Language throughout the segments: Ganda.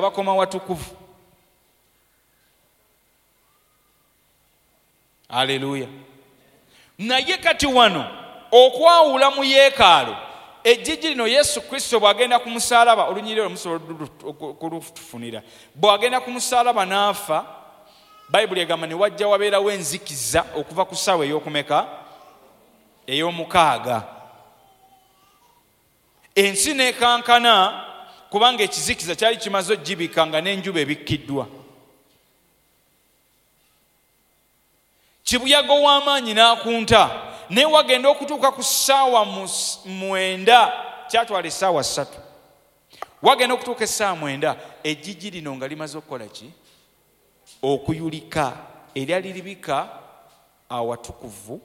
Bakoma watukuvu. Aleluya. Naye kati wano okwawula mu yeekaalu, ejjiji lino, Yesu Kristo bw'agenda ku musaalaba, olunyiriri olwo musobola kulutufunira, bw'agenda ku musaalaba n'afa, Bayibuli egamba ne wajja wabeerawo enzikiza okuva ku ssaawa ey'okumeka? Ey'omukaaga. Ensi n'ekankana kubanga ekizikiza kyali kimaze ogibika nga n'enjuba ebikkiddwa. Kibuyaga ow'amaanyi n'akunta, naye wagenda okutuuka ku ssaawa 9, kyatwala essaawa 3, wagenda okutuuka essaawa 9, ejjiji lino nga limaze okukola ki? Okuyulika, eryali libika awatukuvu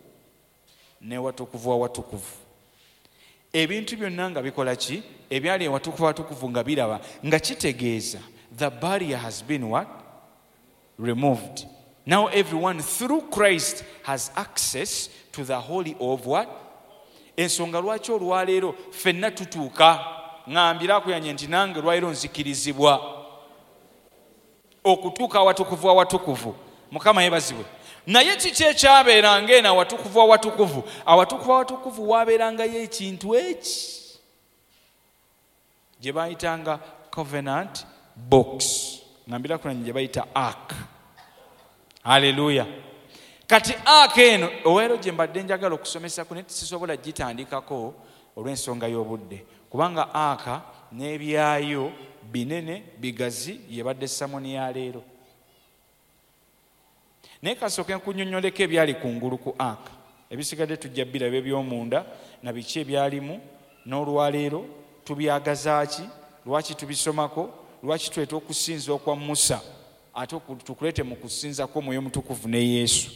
n'ewatukuvu awatukuvu. Ebintu byonna nga bikola ki? Ebyali ewatukuvu awatukuvu nga biraba, nga kitegeeza the barrier has been what? Removed. Now everyone through Christ has access to the holy of what? Ensonga lwaki olwaleero ffenna tutuuka, ŋŋambira akuyanye nti nange lwaleero nzikirizibwa okutuuka awatukuvu awatukuvu. Mukama yeebazibwe. Naye kiki ekyabeeranga eno awatukuvu awatukuvu? Awatukuvu awatukuvu waabeerangayo ekintu eki gye bayitanga covenant box, ŋŋambira kulanye gye bayita ark. Haleluya. Kati ark eno olwaleero gye mbadde njagala okusomesako, naye sisobola gitandikako olw'ensonga y'obudde, kubanga ark n'ebyayo binene bigazi, yebadde samoni ya leero. Naye kasooke nkunnyonnyoleko ebyali kungulu ku ark, ebisigadde tujja biraba eby'omunda na biki ebyalimu. N'olwaleero tubyagaza ki? Lwaki tubisomako? Lwaki tuleeta okusinza okwa Musa ate tukuleete mu kusinza kw'Omwoyo Omutukuvu ne Yesu?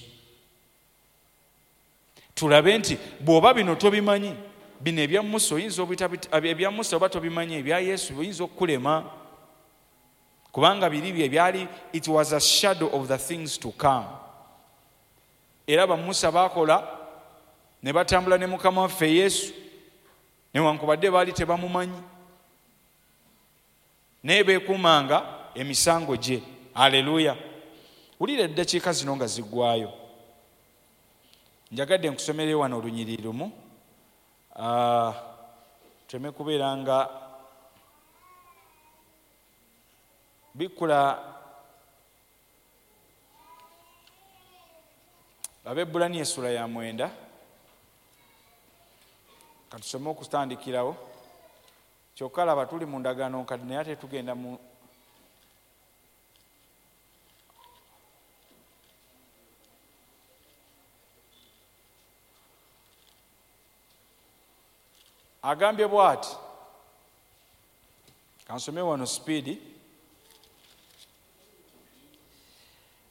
Tulabe nti bw'oba bino tobimanyi, bino ebya Musa oyinza obita, ebya Musa oba tobimanyi, ebya Yesu oyinza okukulema, kubanga biri bye byali, it was a shadow of the things to come. Era ba Musa baakola ne batambula ne Mukama waffe Yesu, newankubadde baali tebamumanyi, naye beekuumanga emisango gye. Aleluya. Wulira eddakiika zino nga ziggwayo, njagadde nkusomereyo wano olunyiriri lumu, tuleme kubeera nga bikkula Abebbulaniya essula ya 9. Katusome okutandikirawo. Kyokka laba tuli mu ndagaano nkadde, naye ate tugenda mu agambye bw'ati, kansome wano speed.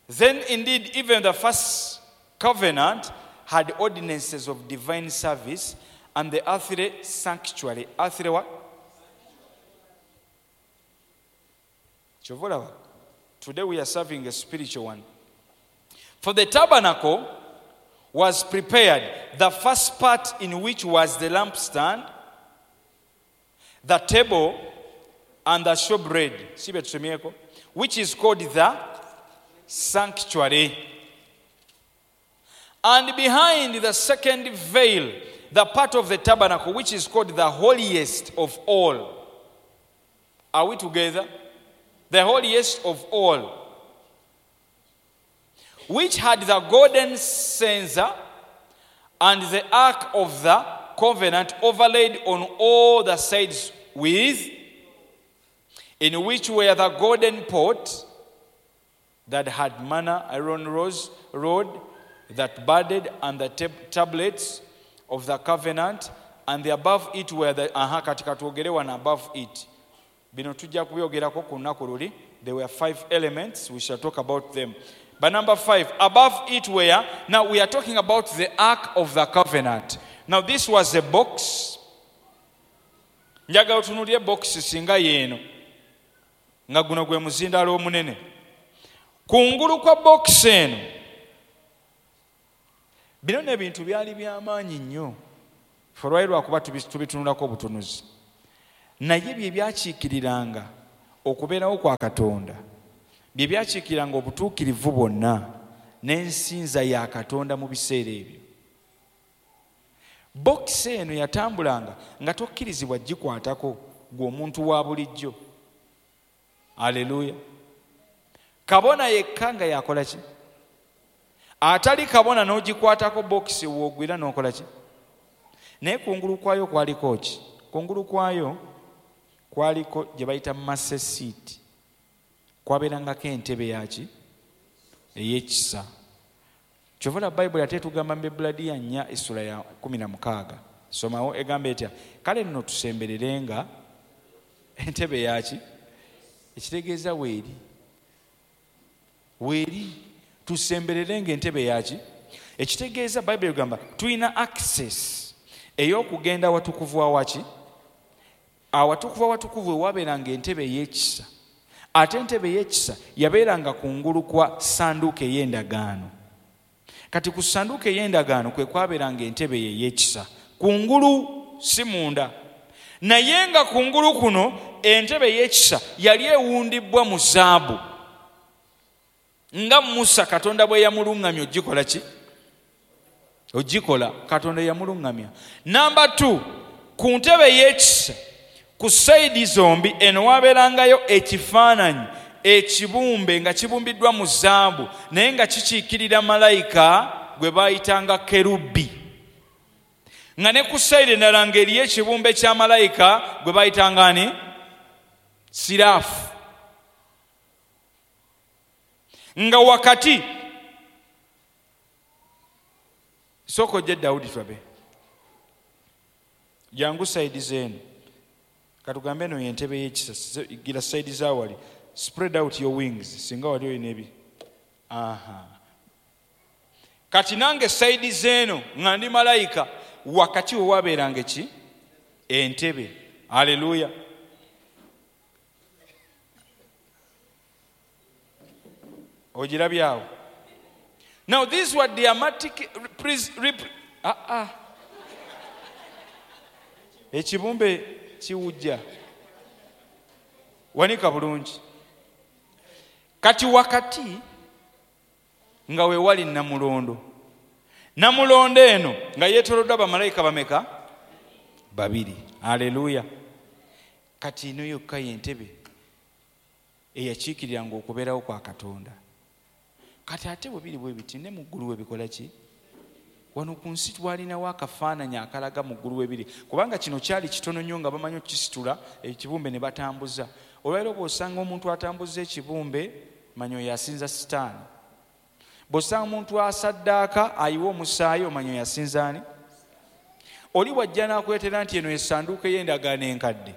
Then indeed even the first covenant had ordinances of divine service and the earthly sanctuary. Earthly what? Kyova olaba, today we are serving a spiritual one. For the tabernacle was prepared, the first part in which was the lampstand, the table, and the showbread, si bye tusomyeko, which is called the sanctuary. And behind the second veil, the part of the tabernacle which is called the holiest of all. Are we together? The holiest of all, which had the golden censer and the ark of the covenant overlaid on all the sides with, in which were the golden pot that had manna, Aaron rose, rod that budded, and the tablets of the covenant, and the above it were the, aha, kati katwogere wano above it. Bino tujja kubyogerako ku lunaku luli. There were 5 elements, we shall talk about them. But number 5, above it were, now we are talking about the Ark of the Covenant. Now this was a box. Njagala otunuulire box singa yeeno, nga guno gwe muzindaalo omunene. Kungulu kwa box eno, bino n'ebintu byali by'amaanyi nnyo. Ffe olwali lwakuba tubitunulako obutunuzi. Naye bye byakiikiriranga Okubeerawo kwa Katonda bye byakiikiranga obutuukirivu bwonna n'ensinza ya Katonda mu biseera ebyo. Bokisi eno yatambulanga nga tokkirizibwa gikwatako gwe omuntu wa bulijjo. Aleluya. Kabona yekka nga yakola ki? Atali kabona n'ogikwatako bokisi w'ogwira n'okola ki? Naye kungulu kwayo kwaliko ki? Kungulu kwayo kwaliko gye bayita mercy seat. Kwabeerangako entebe yaki? Ey'ekisa. Kyova la Bayibuli ate etugamba mu Bebbulaniya 4:16. Somawo egamba etya? Kale nno tusembererenga entebe yaki? Ekitegeeza weeri. Weeri tusembererenga entebe yaki? Ekitegeeza Bayibuli egamba tulina access ey'okugenda awatukuvu awaki? Awatukuvu awatukuvu ewabeeranga entebe ey'ekisa. Ate entebe ey'ekisa yabeeranga kungulu kwa ssanduuko ey'endagaano. Kati ku ssanduuko ey'endagaano kwe kwabeeranga entebe ey'ekisa. Kungulu si munda. Naye nga kungulu kuno entebe ey'ekisa yali ewundibbwa mu zaabu. Nga Musa Katonda bwe yamuluŋŋamya ogikola ki? Ogikola Katonda yamuluŋŋamya. Namba 2, ku ntebe ey'ekisa ku sayidi zombi eno wabeerangayo ekifaananyi ekibumbe nga kibumbiddwa mu zaabu naye nga kikiikirira malayika gwe baayitanga kerubi. Nga ne ku sayidi endala ng'eriyo ekibumbe kya malayika gwe bayitanga ani? Siraafu. Nga wakati sooka ojje Dawudi tulabe. Jangu sayidi zeeno. Katugambe eno y'entebe y'ekisa, gira sayidi za wali. Spread out your wings singa wali olina ebi. Aha. Kati nange sayidi zeeno nga ndi malayika, wakati we wabeeranga ki? Entebe. Haleluya. Ogirabyawo. Now these were dramatic Ekibumbe kiwujja. Wanika bulungi. Kati wakati nga we wali Namulondo. Namulondo eno nga yeetooloddwa bamalayika bameka? 2. Haleluya. Kati eno yokka y'entebe eyakiikiriranga okubeerawo kwa Katonda. Kati ate bwe biri bwe biti ne mu ggulu we bikola ki? Wano ku nsi twalinawo akafaananyi akalaga mu ggulu we biri, kubanga kino kyali kitono nnyo nga bamanyi okukisitula ekibumbe ne batambuza. Olwaleero bw'osanga omuntu atambuza ekibumbe, manya oyo asinza Sitaani. Bw'osanga omuntu asaddaaka ayiwa omusaayi, omanya oyo asinza ani? Oli bw'ajja n'akuleetera nti eno essanduuko ey'endagaano enkadde,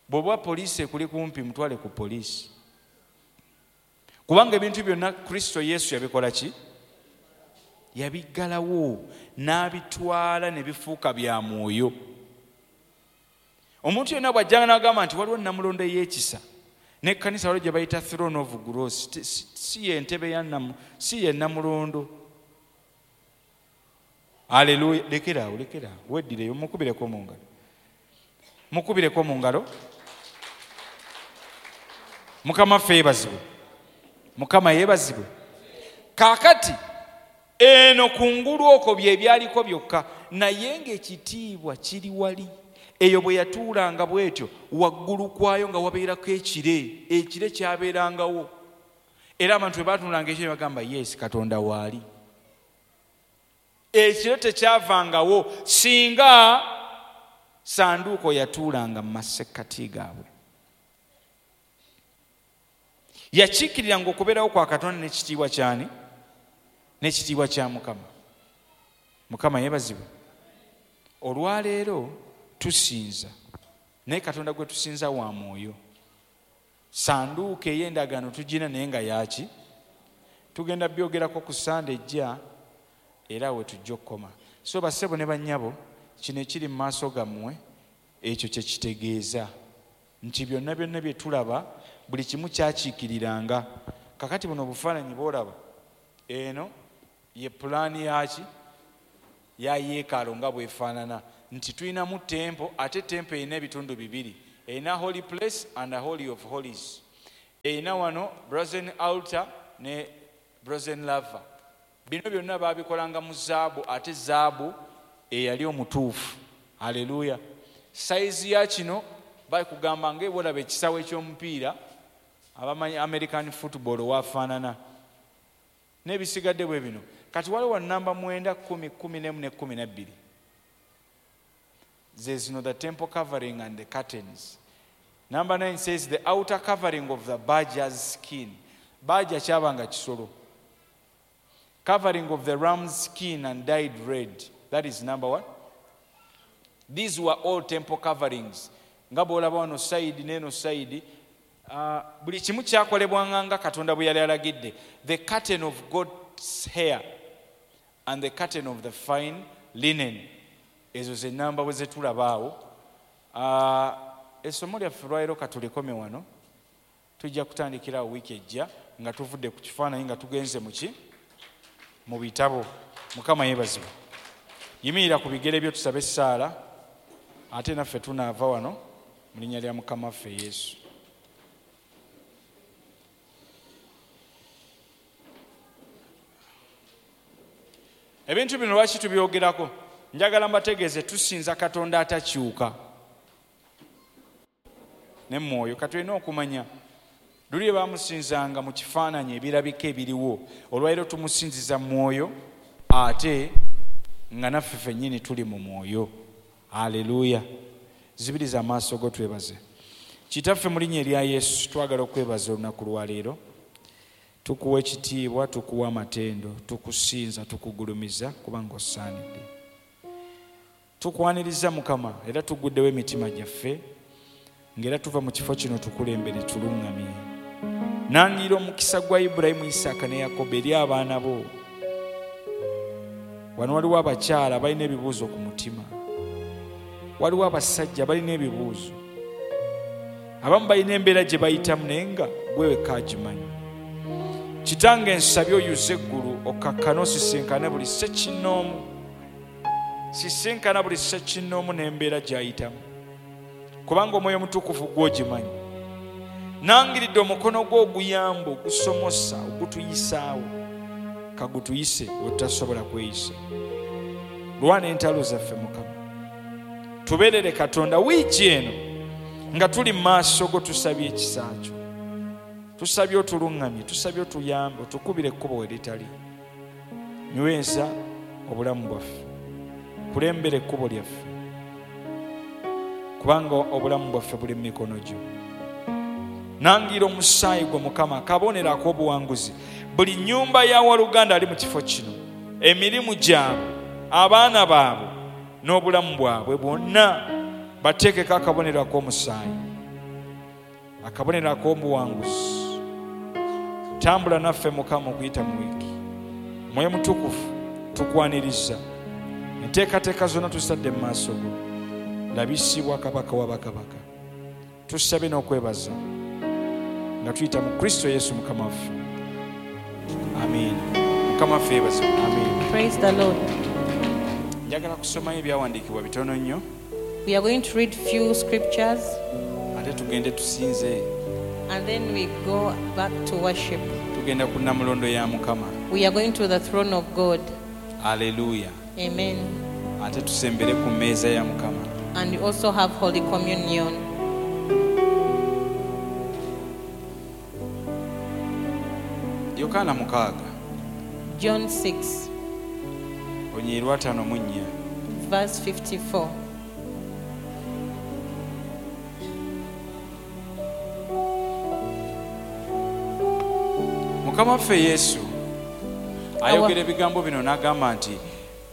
bw'oba poliisi ekuli kumpi mutwale ku poliisi. Kubanga ebintu byonna Kristo Yesu yabikola ki? Yabiggalawo n'abitwala ne bifuuka bya mwoyo. Omuntu yenna bw'ajjanga n'agamba nti waliwo Namulondo ey'ekisa n'ekkanisa waliwo gye bayita Throne of Grace, si ye ntebe ya si ye Namulondo. Haleluya. Lekeraawo, lekeraawo, weddireyo, mukubireko mu ngalo. Mukubireko mu ngalo. Mukama ffe yeebazibwe. Mukama yeebazibwe. Kaakati eno kungulu okwo bye byaliko byokka, naye ng'ekitiibwa kiri wali. Eyo bwe yatuulanga bw'etyo, waggulu kwayo nga wabeerako ekire, ekire kyabeerangawo. Era abantu bwe baatunulanga ekire ne bagamba, yes, Katonda waali. Ekire tekyavangawo singa sanduuko yatuulanga mu masekkati gaabwe. Yakiikiriranga okubeerawo kwa Katonda n'ekitiibwa ky'ani? N'ekitiibwa kya Mukama. Mukama yeebazibwe. Olwaleero tusinza, naye Katonda gwe tusinza wa mwoyo. Sanduuko ey'endagaano tugina naye nga yaaki? Tugenda byogerako ku Sande ejja, era we tujja okukoma. So bassebo ne bannyabo, kino ekiri mu maaso gammwe ekyo kye kitegeeza nti byonna byonna bye tulaba buli kimu kyakiikiriranga. Kakati buno obufaananyi bw'olaba, eno ye pulaani yaki? Ya yeekaalo nga bw'efaanana, nti tulinamu tempo, ate tempo erina ebitundu bibiri. Erina holy place and a holy of holies. Erina wano brazen altar ne brazen laver. Bino byonna baabikolanga mu zaabu, ate zaabu eyali omutuufu. Haleluya. Sayizi ya kino bakugamba ng'olaba ekisaawe eky'omupiira, abamanyi American football waafaanana n'ebisigadde bwe bino. Kati waliwo namba 9, 10, 11 ne 12. Ze zino, the temple covering and the curtains. Number 9 says the outer covering of the badger's skin. Badger kyabanga kisolo. Covering of the ram's skin and dyed red. That is number 1. These were all temple coverings. Nga bw'olaba wano side n'eno side, buli kimu kyakolebwanga nga Katonda bwe yali alagidde. The curtain of God's hair and the curtain of the fine linen. Ezo ze namba bwe zetulaba awo. Essomo lyaffe lwaleero katulikome wano. Tujja kutandikira awo wiiki ejja nga tuvudde ku kifaananyi nga tugenze mu bitabo. Mukama yeebazibwe. Yimirira ku bigere byo tusabe essaala, ate naffe tunaava wano mu linnya lya Mukama waffe Yesu. Ebintu bino lwaki tubyogerako? Njagala mbategeeze tusinza Katonda atakyuka ne mwoyo. Katulina okumanya luli bamusinzanga mu kifaananyi ebirabika ebiriwo, olwaleero tumusinziza mwoyo ate nga naffe ffennyini tuli mu mwoyo. Haleluya. Zibiriza amaaso go twebaze. Kitaffe mu linnya erya Yesu twagala okwebaza olunaku lwaleero. Tukuwa ekitiibwa, tukuwa amatendo, tukusinza, tukugulumiza kubanga osaanidde. Tukwaniriza Mukama era tuguddewo emitima gyaffe ng'era tuva mu kifo kino tukulembere tuluŋŋamye. Nangira omukisa gwa Ibulayimu, Isaaka ne Yakobo eri abaana bo. Wano waliwo abakyala balina ebibuuzo ku mutima, waliwo abasajja balina ebibuuzo, abamu balina embeera gye bayitamu naye nga gwe wekka agimanyi. Kitange nsabye oyuze eggulu okkakkane osisinkane buli ssekinnoomu, sisinkana buli ssekinnoomu n'embeera gy'ayitamu, kubanga Omwoyo Omutukuvu gw'ogimanyi. Nangiridde omukono gwo oguyamba, ogusomosa, ogutuyisaawo, kagutuyise wetutasobola kweyisa. Lwana entalo zaffe Mukama, tubeerere Katonda wiiki eno nga tuli mu maaso go. Tusabye ekisa kyo, tusabye otuluŋŋamye, tusabye otuyambe, otukubire ekkubo we litali. Nyweza obulamu bwaffe, kulembera ekkubo lyaffe, kubanga obulamu bwaffe buli mu mikono gyo. Nangira omusaayi gwo Mukama, akabonero ak'obuwanguzi. Buli nnyumba ya waluganda ali mu kifo kino, emirimu gyabwe, abaana baabwe n'obulamu bwabwe bwonna bateekeko akabonero ak'omusaayi, akabonero ak'obuwanguzi. Tambula naffe Mukama okuyita mu wiiki. Omwoyo Mutukuvu tukwaniriza, enteekateeka zonna tuzitadde mu maaso go. Labisibwa Kabaka wa bakabaka. Tusabe n'okwebaza nga tuyita mu Kristo Yesu Mukama waffe. Amen. Mukama waffe yeebazibwe. Amen. Praise the Lord. Njagala kusomayo ebyawandiikibwa bitono nnyo, We are going to read few scriptures ate tugende tusinze. and then we go back to worship. Tugenda ku nnamulondo ya Mukama. We are going to the throne of God. Aleluya. Amen. Ate tusembere ku mmeeza ya Mukama. And we also have Holy Communion. Yokaana 6 John 6, olunyiriri lwa 54. verse 54. Mukama waffe Yesu ayogera ebigambo bino n'agamba nti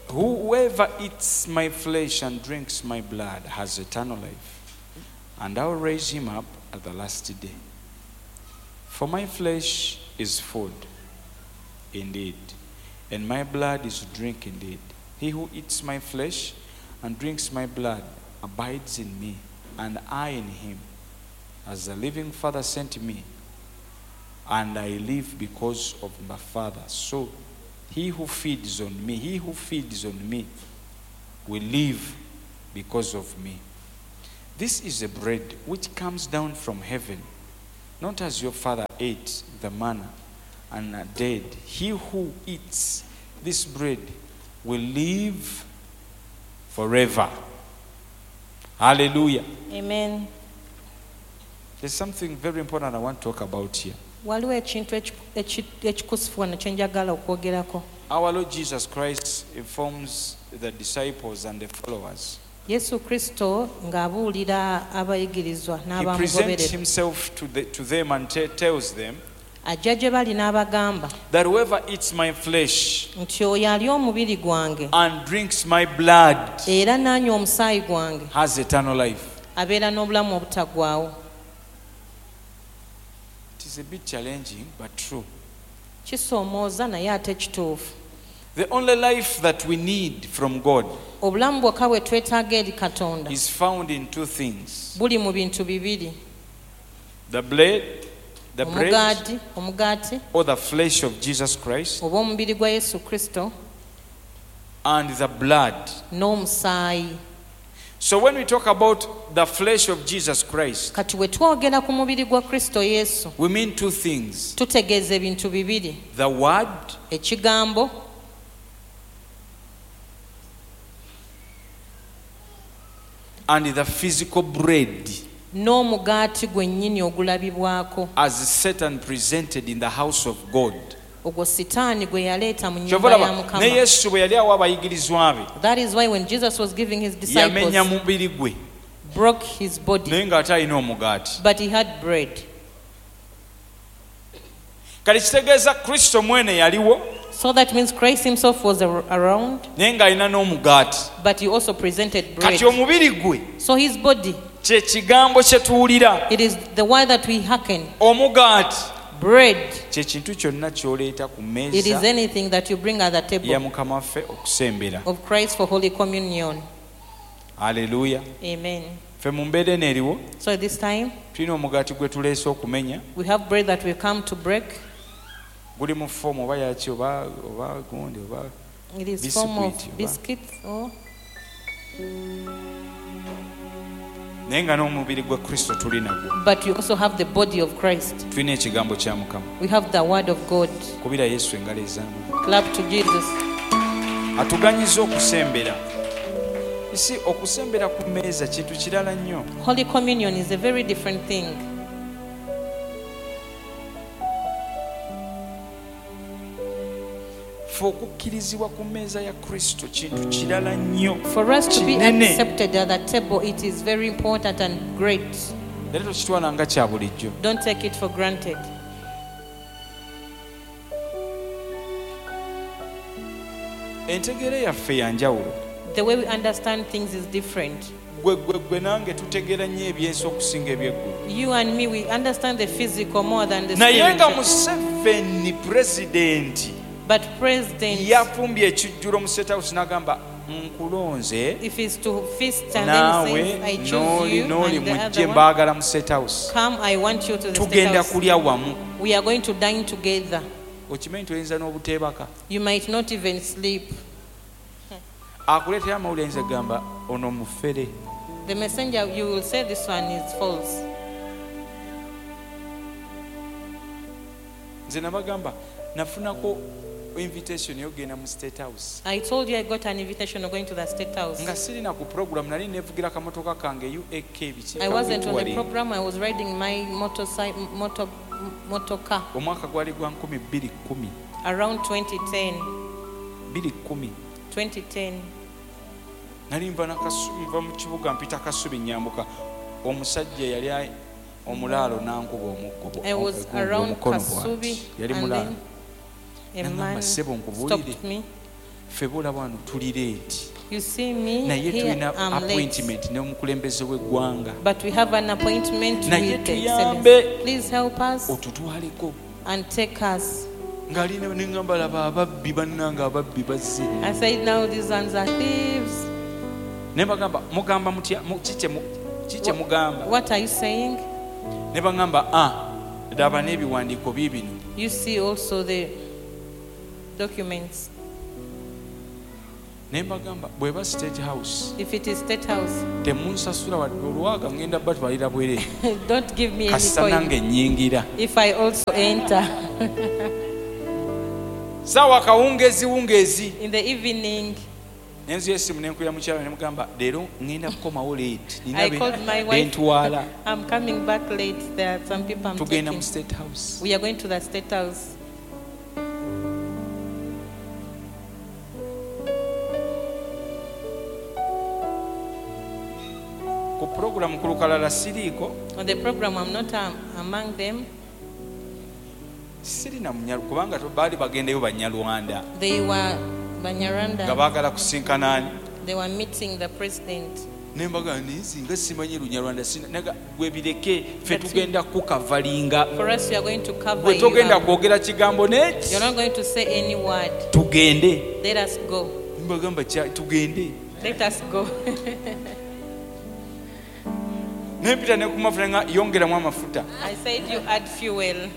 whoever eats my flesh and drinks my blood has eternal life, and I will raise him up at the last day. For my flesh is food indeed, and my blood is drink indeed. He who eats my flesh and drinks my blood abides in me, and I in him. As the living Father sent me, and I live because of my Father, so he who feeds on me, he who feeds on me will live because of me. This is a bread which comes down from heaven, not as your father ate the manna and are dead. He who eats this bread will live forever. Hallelujah. Amen. There's something very important I want to talk about here. Waliwo ekintu ekikusifu wano kye njagala okwogerako. Our Lord Jesus Christ informs the disciples and the followers. Yesu Kristo ng'abuulira abayigirizwa He presents n'abamugoberera himself to them and tells them ajja gye bali n'abagamba that whoever eats my flesh nti oyo alya omubiri gwange and drinks my blood era n'anywa omusaayi gwange has eternal life. Abeera n'obulamu obutaggwaawo. It is a bit challenging, but true. Kisoomooza naye ate kituufu. The only life that we need from God Obulamu bwokka bwe twetaaga eri Katonda is found in two things: buli mu bintu bibiri. the bread Omugaati, omugaati or the flesh of Jesus Christ, oba omubiri gwa Yesu Kristo and the blood. N'omusaayi. So when we talk about the flesh of Jesus Christ, Kati bwe twogera ku mubiri gwa Kristo Yesu we mean two things: tutegeeza ebintu bibiri. The word Ekigambo and the physical bread n'omugaati gwennyini ogulabibwako as Satan presented in the house of God. Ogwo Sitaani gwe yaleeta mu Kyova nnyumba ya olaba ne Mukama. Yesu bwe yali awa abayigirizwa be That is why when Jesus was giving his yamenya disciples, mubiri gwe broke his body, naye ng'ate alina omugaati. But he had bread. Kati kitegeeza Kristo mwene yaliwo So that means Christ himself was around, naye ng'alina n'omugaati. But he also presented bread. Kati omubiri gwe So his body, kye kigambo kye tuwulira. It is the word that we hearken. Omugaati Bread, kye kintu kyonna ky'oleeta ku it is mmeeza anything that you bring at the ya table Mukama waffe okusembera. of Christ for Holy Communion. Aleluya. Amen. Ffe mu mbeera eno eriwo So this time, tulina omugaati gwe tuleese okumenya. We have bread that we come to break. Guli mu foomu oba yaki oba gundi oba It is form of biscuit, oba. Biscuits or Naye nga n'omubiri gwa Kristo tuli nagwo. But you also have the body of Christ. Tulina ekigambo kya Mukama. We have the word of God. Kubira Yesu engalo ez'amaanyi. Clap to Jesus. Atuganyiza okusembera isi okusembera ku mmeeza kintu kirala nnyo. Holy Communion is a very different thing. Ffe okukkirizibwa ku mmeeza ya Kristo kintu kirala nnyo For us to be kinene. accepted at the table, it is very important and great. Era tokitwala nga kya bulijjo. Don't take it for granted. Entegeera yaffe ya njawulo. The way we understand things is different. Gwe gwe gwe nange tutegeera nnyo ebyensi okusinga ebyeggulu. You and me, we understand the physical more than the Naye nga spiritual. Museveni pulezidenti But President, yafumbye ekijjulo mu State House n'agamba nkulonze if it's to feast and then naawe he says, I choose n'oli you n'oli and the mujje other one, mbaagala mu State House come, I want you to the State tugenda House. kulya wamu. We are going to dine together. Okimanyi nti oyinza n'obuteebaka. You might not even sleep. Akuleetera amawulire ayinza kugamba ono mufere. The messenger, you will say this one is false. Nze nabagamba nafunako invitation ey'okugenda mu State House I told you I got an invitation of going to the State House. nga sirina ku program nali neevugira kamotoka kange uak biki I wasn't on the kawetuwali. program. I was riding my motorcycle, motor car Omwaka gwali gwa 2010. Around 2010. 2010. 2010. Nali nva Nakasubi nva mu kibuga mpita Kasubi nyambuka omusajja yali omulaalo n'ankuba omuggo I was around omukono Kasubi bw'ati yali and mulaalo. then a Nangamba, man "Ssebo, nkubuulire." stopped me. Ffe boolaba wano tuli late You see me naye here, tulina I'm late. appointment n'omukulembeze w'eggwanga. But we have an appointment Naye with the tuyambe. Excellency. Please help us Otutwaleko. And take us. Ng'alina neŋŋamba laba ababbi bannange ababbi bazze. I said, now these ones are thieves. Ne bagamba mugamba mutya ki kye mugamba? What are you saying? Ne baŋŋamba a laba n'ebiwandiiko biibino. You see also the documents. Ne mbagamba bweba State House, If it is State House, temunsasula wadde olwaga, ngenda batwalira bwereere. Don't give me any Kasita coin. nange nnyingira. If I also enter. Saawa kawungeezi wungeezi. In the evening, Nenzuya essimu nenkubira mukyala ne mugamba leero ŋŋenda kukomawo late, nina I called my wife. bentwala. I'm coming back late. There are some people I'm Tugenda mu taking. State House. We are going to the State House. Ku pulogulamu ku lukalala siriiko. On the program, I'm not among them. Sirina munyalu kubanga baali bagendayo banyalwanda They were nga Banyarwanda. baagala kusinkana ani. They were meeting the president. Ne mbagamba naye singa simanyi lunyarwanda naga gwe bireke ffe But tugenda kukavalinga. For us, we are going to cover Gwe you togenda up. kwogera kigambo neki. You're not going to say any word. Tugende. Let us go. Mbagamba tugende. Let us go. Nempita ne ku mafuta nga yongeramu amafuta. I said you add fuel.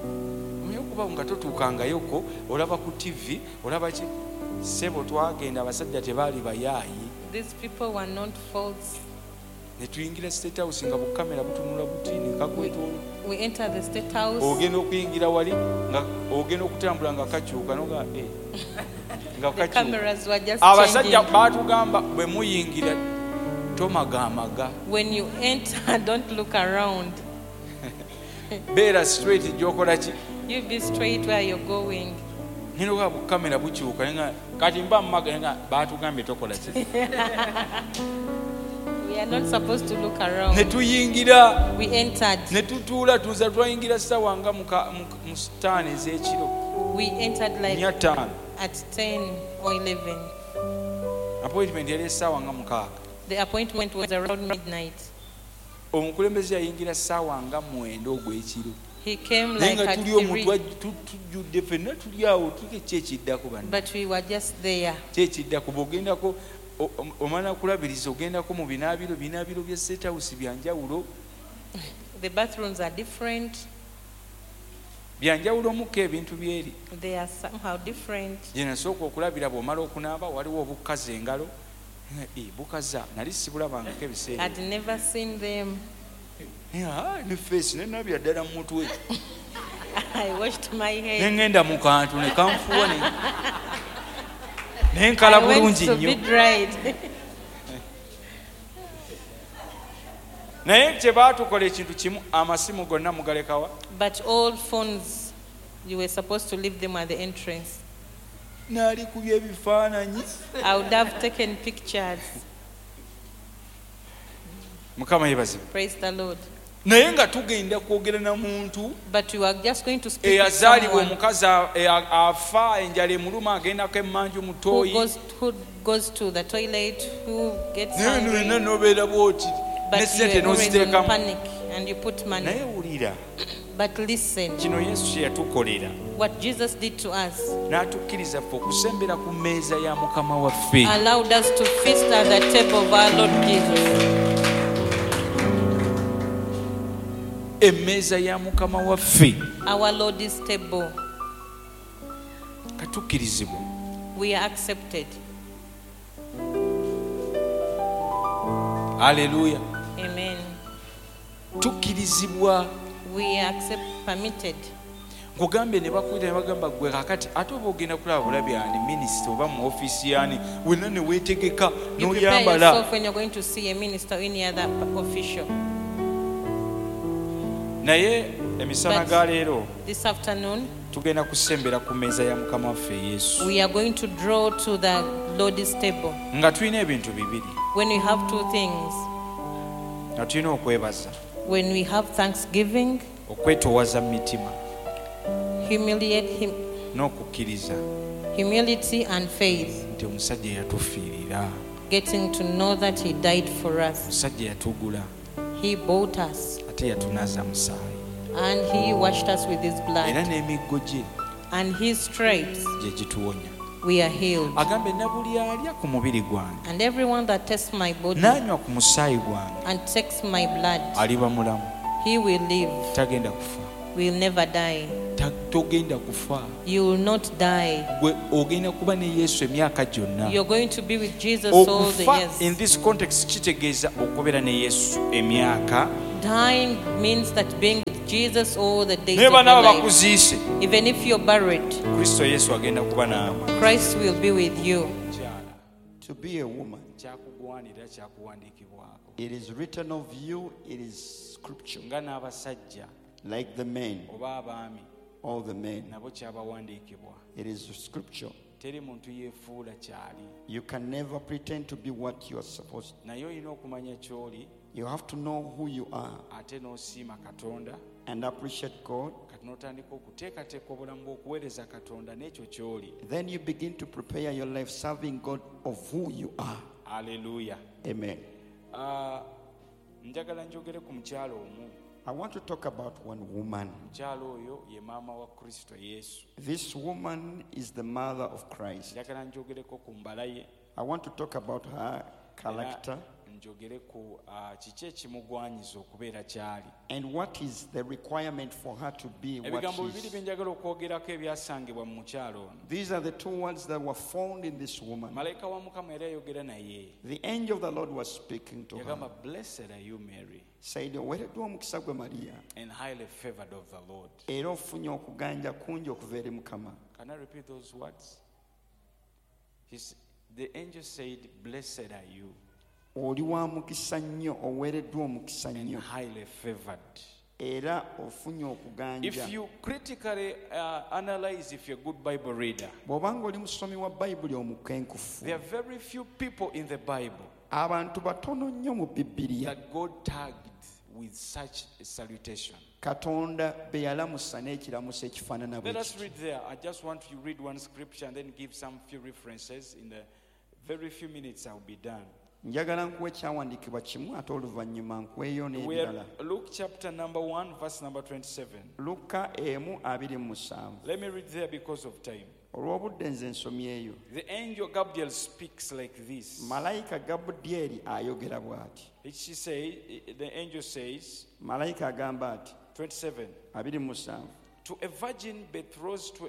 Omanyi okuba nga totuukangayoko olaba ku TV olaba ki ssebo twagenda abasajja tebaali bayaayi. These people were not false. Ne tuyingira State House nga bukamera butunula buti ne kakwetoolo. We entered the State House. Ogenda okuyingira wali nga ogenda okutambula nga kakyuka noga eh, nga The kakyuka. cameras were just Abasajja changing. baatugamba bwe muyingira tomagamaga. When you enter, don't look around. Beera straight gyokola ki. You be straight where you're going. Ngenda okulaba bukamera bukyuka naye nga kati mba mumaga naye nga baatugambye tokola ki. We are not supposed to look Ne around. tuyingira. We entered. Ne tutuula tuza twayingira ssaawa nga mu ttaano ez'ekiro. We entered like Nnya ttaano. at 10 or 11. Appointment yali essaawa nga 6. The appointment was around midnight. Omukulembeze yayingira ssaawa nga 9 ogw'ekiro. He came Naye like nga at tuli omwo 3, tujjudde ffenna tuli awo tuke ki ekiddako banne. But we were just there. Ki ekiddako bw'ogendako omala kulabiriza ogendako mu binaabiro binaabiro bya State House bya njawulo. The bathrooms are different. Bya njawulomuko ebintu byeri. They are somehow different. Gye nasooka okulabira bw'omala okunaaba waliwo obukaza engalo. Eh, bukaza nali sibulabangako ebiseera. I'd never seen them. Eh, ah, ne feesi ne nabya ddala mu mutwe. I washed my Ne hair. ŋŋenda mu kantu ne kanfuuwa ne nkala I went bulungi to be nnyo. dried. Naye kye baatukola ekintu kimu amasimu gonna mugalekawa. But all phones, you were supposed to leave them at the entrance. Naalikubya ebifaananyi. I would have taken pictures. Mukama yeebazibwe. Praise the Lord. Naye nga tugenda kwogera na muntu But we are just going to speak with eyazaalibwa someone omukazi afa enjala emuluma agendako emmanju mu who ttooyi. goes to the toilet, who gets Naye hungry. nolina nobeera bwoti ne But you sente are always in n'oziteekamu. panic and you put money. Naye wulira But listen, kino Yesu kye yatukolera what Jesus did to us n'atukkiriza ffe okusembera ku mmeeza ya Mukama waffe. Allowed us to feast at the table of our Lord Jesus. Emmeeza ya Mukama waffe. Our Lord's table. Katukkirizibwa. We are accepted. Aleluya. Amen. Tukkirizibwa. We are permitted. Nkugambye ne bakuyita ne bagamba gwe kakati ate oba ogenda kulaba bulabi ani minisita oba mu ofiisi yani wenna ne weetegeka You prepare n'oyambala. yourself when you're going to see a minister or any other official. Naye emisana But ga leero this afternoon, tugenda kusembera ku mmeeza ya Mukama waffe Yesu. We are going to draw to the Lord's table. Nga tulina ebintu bibiri. When we have two things, Nga tulina okwebaza. When we have thanksgiving, Okwetoowaza mu mitima. Humiliate him, N'okukkiriza. Humility and faith. Nti omusajja yatufiirira. Getting to know that he died for us. Omusajja yatugula. He bought us. Ate yatunaaza musaayi. And he washed us with his blood. Era n'emiggo gye And his stripes, gye gituwonya. we are healed. Agambe na buli alya ku mubiri gwange And everyone that tastes my body n'anywa ku musaayi gwange and takes my blood, aliba mulamu. He will live, Tagenda kufa. Will never die. Togenda kufa. You will not die. Gwe ogenda kuba ne Yesu emyaka gyonna. You're going to be with Jesus all the Okufa in years. this context kitegeeza okubeera ne Yesu emyaka. Dying means that being with Jesus all the days Naye of your banaaba life. bakuziise, Even if you're buried, Kristo Yesu agenda kuba naawe. Christ will be with you. Mukyala, To be a woman, kyakugwanira, kyakuwandiikibwako. it is written of you, it is scripture. Nga n'abasajja Like the men, oba abaami all the men, nabo kyabawandiikibwa. it is scripture. Teri muntu yeefuula kyali. You can never pretend to be what you are supposed to. Naye olina okumanya ky'oli You have to know who you are ate n'osiima Katonda and appreciate God. kati n'otandika okuteekateeka obulamu bw'okuweereza Katonda n'ekyo ky'oli. Then you begin to prepare your life serving God of who you are. Aleluya. Amen. Ah, njagala njogere ku mukyala omu. I want to talk about one woman. Mukyala oyo ye maama wa Kristo Yesu. This woman is the mother of Christ. Njagala njogereko ku mbala ye. I want to talk about her Era character njogere ku kiki ekimugwanyiza okubeera kyali. and what is the requirement for her to be what Ebigambo she bibiri is. bye njagala okwogerako ebyasangibwa mu mukyala ono. These are the two words that were found in this woman. Malayika wa Mukama era yayogera naye. The angel of the Lord was speaking to her, Yagamba, "Blessed are you, Mary, said, oweereddwa omukisa gwe Mariya, and highly favored of the Lord." era ofunye okuganja kungi okuva eri Mukama. Can I repeat those words? The angel said, "Blessed are you Oli wa mukisa nnyo, oweereddwa omukisa and nnyo, highly favored." era ofunye okuganja. If you critically analyze, if you're a good Bible reader, Bw'oba ng'oli musomi wa Bayibuli omukenkufu, there are very few people in the Bible abantu batono nnyo mu Bibiliya that God tagged with such a salutation. Katonda be yalamusa n'ekiramuso ekifaanana bwe Let us kiti. read there. I just want to read one scripture and then give some few references. In the very few minutes, I'll be done. Njagala nkuwa ekyawandiikibwa kimu ate oluvannyuma nkuweeyo We n'ebirala. are Luke chapter number 1, verse number 27. Luka emu abiri mu musanvu. Let me read there because of time. Olw'obudde nze nsomyeyo. The angel Gabriel speaks like this. Malayika Gabudyeri ayogera bw'ati. She say, the angel says, Malayika agamba ati 27, 27 to a virgin betrothed to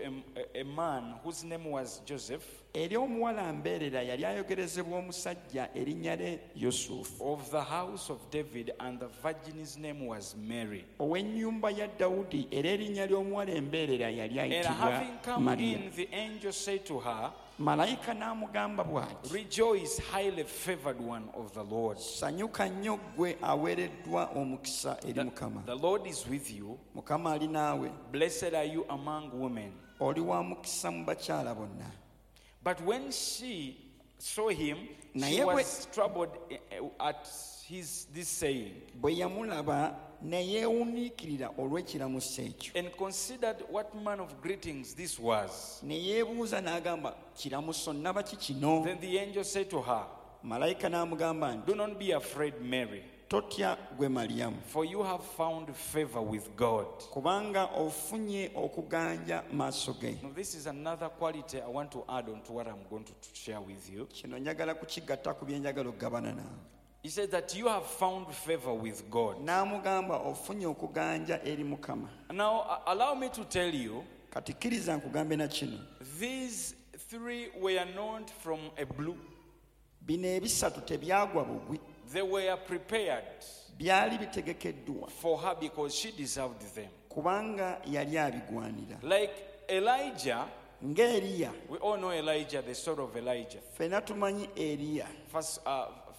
a man whose name was Joseph, eri omuwala mbeerera yali ayogerezebwa omusajja erinnya lye Yusufu of the house of David, and the virgin's name was Mary. ow'ennyumba ya Dawudi, era erinnya ly'omuwala embeerera yali And ayitibwa having come Mariya. in, the angel said to her, Malayika n'amugamba bw'ati, "Rejoice, highly favored one of the Lord. sanyuka nnyo ggwe aweereddwa omukisa eri Mukama. The Lord is with you. Mukama ali naawe, Blessed are you among women." oli wa mukisa mu bakyala bonna. But when she saw him, she Naye bwe- was troubled at his this saying, Bwe yamulaba ne yeewuniikirira olw'ekiramuso ekyo. and considered what manner of greetings this was. Ne yeebuuza n'agamba, kiramuso nnaba ki kino? Then the angel said to her, Malayika n'amugamba nti, "Do not be afraid, Mary, totya gwe Mariyamu, for you have found favor with God." kubanga ofunye okuganja maaso ge. Now, this is another quality I want to add on to what I'm going to share with you. Kino njagala kukigatta ku bye njagala okugabana naawe. He said that you have found favor with God. N'amugamba ofunye okuganja eri Mukama. Now, allow me to tell you, Kati kkiriza nkugambe na kino. these three were not from a blue. Bino ebisatu tebyagwa bugwi, They were prepared byali bitegekeddwa for her because she deserved them. kubanga yali abigwanira. Like Elijah, Ng'Eriya, we all know Elijah, the story of Elijah. ffenna tumanyi Eriya,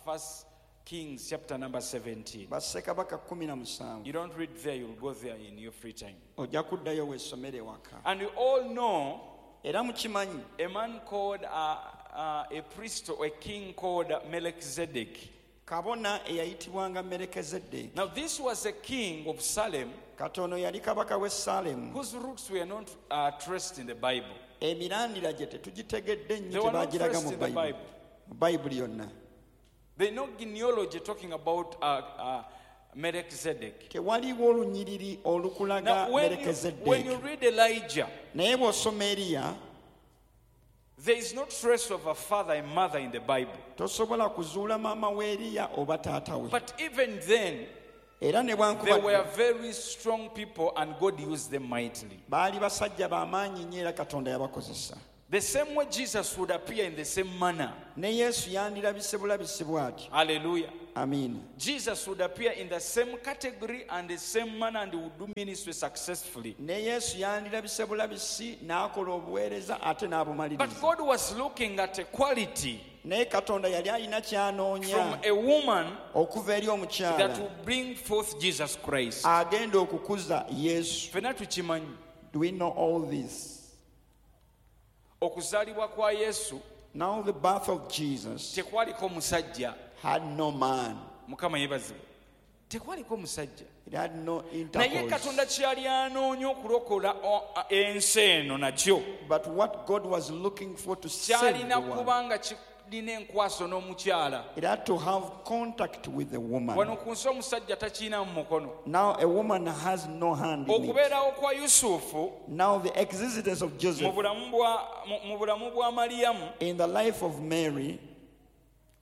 First Kings chapter number 17. Bassekabaka 17. You don't read there, you'll go there in your free time. Ojja kuddayo weesomere ewaka. And we all know Era mukimanyi a man called a priest or a king called Melchizedek. kabona eyayitibwanga Merekezeddeeki. Now, this was a king of Salem Katono yali kabaka w'e Saalemu. whose roots were not traced in the Bible. Emirandira gye tetugitegedde They nnyo, were not tebaagiraga traced mu in the Bayibuli. Bible. Mu Bayibuli yonna. There's no genealogy talking about Melchizedek. Tewaliwo olunyiriri olukulaga Now, when you Merekezeddeeki. read Elijah, Naye bw'osoma Eriya, there is no trace of a father and mother in the Bible. tosobola kuzuula maama w'Eriya oba taata we. But even then, Era ne They were bwankubadde very strong people and God used them mightily. Baali basajja b'amaanyi nnyo era Katonda yabakozesa. The same way Jesus would appear in the same manner. Ne Yesu yandirabise bulabisi bw'atyo. Hallelujah. Amiina. Jesus would appear in the same category and the same manner and would do ministry successfully. Ne Yesu yandirabise bulabisi n'akola obuweereza ate n'abumaliriza. But God was looking at a quality Naye Katonda yali alina from ky'anoonya a woman okuva eri that omukyala will bring forth Jesus Christ. agenda okukuza Yesu. Ffenna tukimanyi. Do we know all this? Okuzaalibwa kwa Yesu Now the birth of Jesus tekwaliko musajja. had no man. Mukama yeebazibwe. Tekwaliko musajja. It had no Naye intercourse. Katonda kyeyali anoonya okulokola ensi eno nakyo But what God was looking for to save the kyalina world, kuba nga kirina enkwaso n'omukyala. it had to have contact with the woman. Wano ku nsi omusajja takiina mu mukono. Now a woman has no hand in it. Okubeerawo kwa Yusufu Now the existence of mu Joseph bulamu bwa Mariyamu in the life of Mary